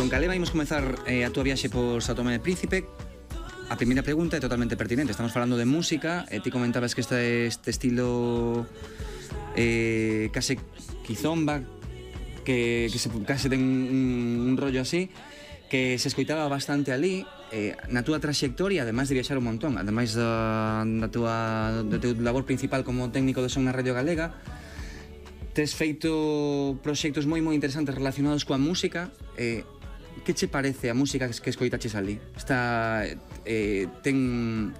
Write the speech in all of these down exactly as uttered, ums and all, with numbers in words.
con Calema imos comezar eh, a túa viaxe por São Tomé e Príncipe. A primeira pregunta é totalmente pertinente. Estamos falando de música e ti comentabas que este, este estilo eh, case quizomba, que, que se, case ten un, un rollo así, que se escoitaba bastante ali. Eh, na túa trayectoria, ademais de viaxar un montón, ademais da, da túa, do teu labor principal como técnico de son na Radio Galega, tes feito proxectos moi moi interesantes relacionados coa música. eh, Que che parece a música que escoitaches ali? Está, eh, ten,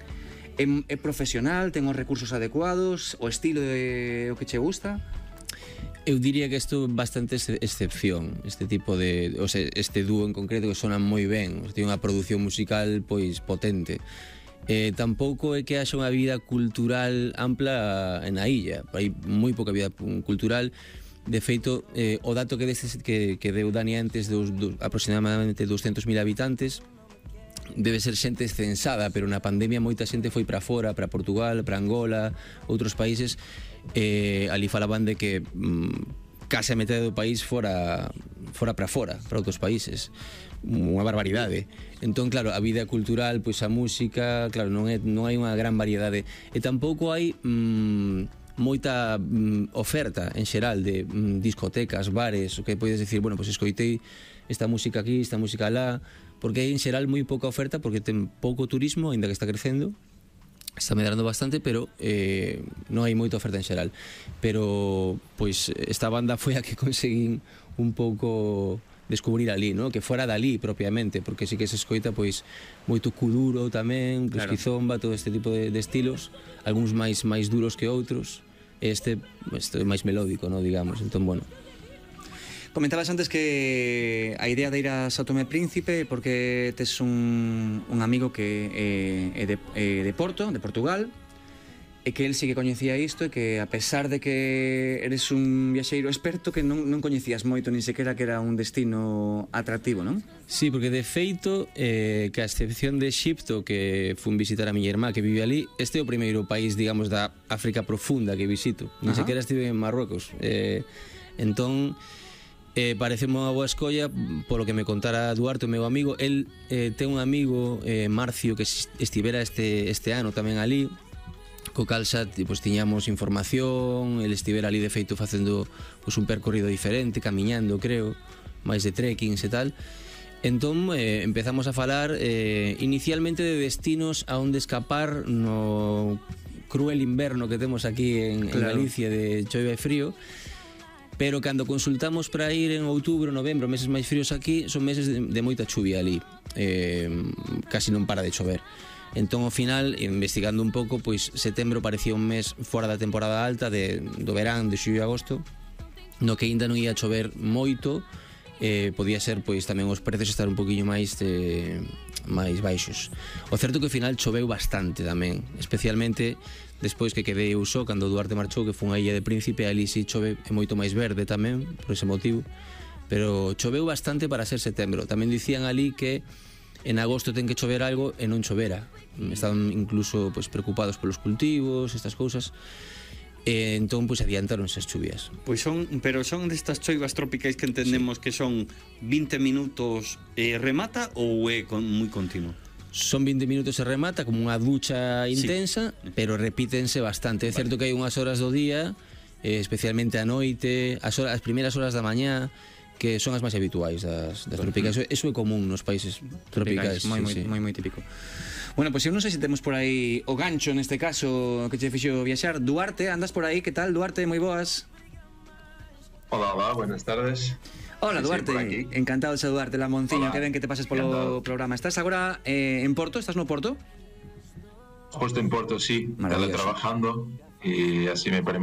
é, é profesional, ten os recursos adecuados, o estilo é o que che gusta? Eu diría que isto é bastante excepción, este tipo de, o sea, este dúo en concreto que sonan moi ben, ten unha produción musical pois potente. Eh, tampouco é que haxa unha vida cultural ampla na illa, hai moi pouca vida cultural. De feito, eh, o dato que, destes, que, que deu Dani antes dos, dos aproximadamente doscientos mil habitantes debe ser xente censada, pero na pandemia moita xente foi para fora, para Portugal, para Angola, outros países. eh, ali falaban de que mm, case a metade do país fora fora para fora, para outros países, unha barbaridade. Entón, claro, a vida cultural, pois a música, claro, non, é, non hai unha gran variedade, e tampouco hai mm, moita mm, oferta en xeral de mm, discotecas, bares, o que podes decir, bueno, pois pues escoitei esta música aquí, esta música alá, porque hai en xeral moi pouca oferta, porque ten pouco turismo, aínda que está crecendo, está medrando bastante, pero eh, non hai moita oferta en xeral. Pero, pois, esta banda foi a que conseguín un pouco descubrir ali, ¿no? Que fora dali propiamente, porque sí que se escoita pois moito kuduro tamén, claro, esquizomba, todo este tipo de, de estilos, algúns máis máis duros que outros, este, este máis melódico, ¿no? Digamos. Entón, bueno. Comentabas antes que a idea de ir a São Tomé e Príncipe porque tes un, un amigo que é, é, de, é de Porto, de Portugal, e que el sí que coñecía isto, e que a pesar de que eres un viaxeiro experto, que non, non coñecías moito nin sequera que era un destino atractivo, non? Sí, porque de feito, eh, que a excepción de Exipto, que fun visitar a miña irmá que vive ali, este é o primeiro país, digamos, da África profunda que visito. Nin sequera estive en Marruecos. Eh, entón, eh, pareceme unha boa escolla polo que me contara Duarte, o meu amigo. El eh, ten un amigo, eh, Marcio, que estivera este, este ano tamén ali, co cal xa pues, tiñamos información, el estivera ali de feito facendo pues, un percorrido diferente, camiñando, creo, máis de trekkings e tal. Entón eh, empezamos a falar eh, inicialmente de destinos a onde escapar no cruel inverno que temos aquí en, claro, en Galicia, de choiva e frío. Pero cando consultamos para ir en outubro, novembro, meses máis fríos aquí, son meses de, de moita chuvia ali, eh, casi non para de chover. Entón, ao final, investigando un pouco, pois setembro parecía un mes fora da temporada alta de, do verán, de xullo e agosto, no que ainda non ia chover moito. Eh, podía ser, pois, tamén os prezos estar un poquinho máis eh, máis baixos. O certo que ao final choveu bastante tamén, especialmente despois que quedei eu só, cando Duarte marchou, que foi unha illa de Príncipe, ali si chove é moito máis verde tamén, por ese motivo, pero choveu bastante para ser setembro. Tamén dicían ali que en agosto ten que chover algo e non chovera. Estaban incluso pues, preocupados polos cultivos, estas cousas. E entón pues, adiantaron esas chuvias. Pois son, pero son destas choivas tropicais que entendemos sí, que son vinte minutos e remata, ou é con, moi continuo? Son vinte minutos e remata, como unha ducha intensa, sí, pero repítense bastante. É vale. Certo que hai unhas horas do día, eh, especialmente a noite, as, horas, as primeiras horas da mañá, que son as máis habituais das, das tropicais. Eso é común nos países tropicais. Moi, moi, sí, sí. moi, moi típico. Bueno, pois pues, eu non sei se temos por aí o gancho neste caso que che fixo viaxar. Duarte, andas por aí, que tal? Duarte, moi boas. Hola, hola, buenas tardes. Hola, Duarte, sí, encantado de saludarte, Lamonciño, que ben que te pases polo programa. Estás agora eh, en Porto? Estás no Porto? Justo en Porto, sí, teletrabajando, y así me permite